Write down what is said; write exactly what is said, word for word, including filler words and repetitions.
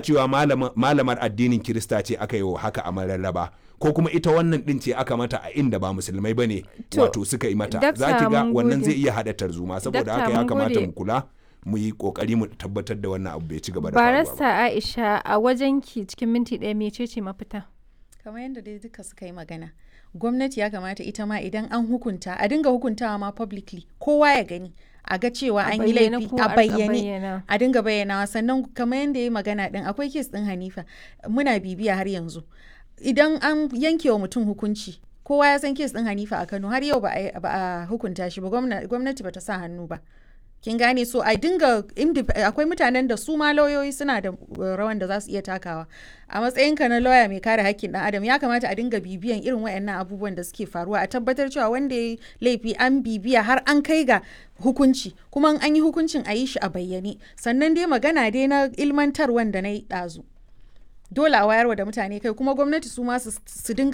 Cewa malamar addinin Kirista ce aka yi wa haka a Mararraba, ko kuma ita wannan din ce aka mata a inda ba musulmai ba ne, wato suka yi mata, za ki ga wannan zai iya haɗa tarzoma. Saboda haka ya kamata mu kula, mu yi kokari mu tabbatar da wannan abu bai ci gaba da faruwa ba. Barista Aisha, a wajenki cikin minti ɗaya, mecece mafita? Kamar yadda dai duka suka yi magana, gwamnati ya kamata ita ma idan an hukunta, a dinga hukuntawa ma publicly, kowa ya gani, a ga cewa an yi laifi a bayyane, a dinga bayyanawa. Sannan kamar yadda ya yi magana din, akwai case din Hanifa muna bibiya har yanzu. Idan an yanke wa mutum hukunci, kowa ya san case din Hanifa a Kano, har yau ba a hukunta shi ba, gwamnati ba ta sa hannu ba, kin gane? So a dinga, akwai mutanen da su ma lauyoyi suna da rawan da za su iya takawa. A matsayinka na lauya mai kare hakkin dan adam, ya kamata a dinga bibiyan irin wayannan abubuwan da suke faruwa, a tabbatar cewa wanda ya laifi an bibiya har an kai ga hukunci, kuma an yi hukuncin a yi shi a bayyane. Sannan dai magana dai na ilmantarwan da na yi ɗazu, dole a wayarwa da mutane kai, kuma gwamnati su ma su dinga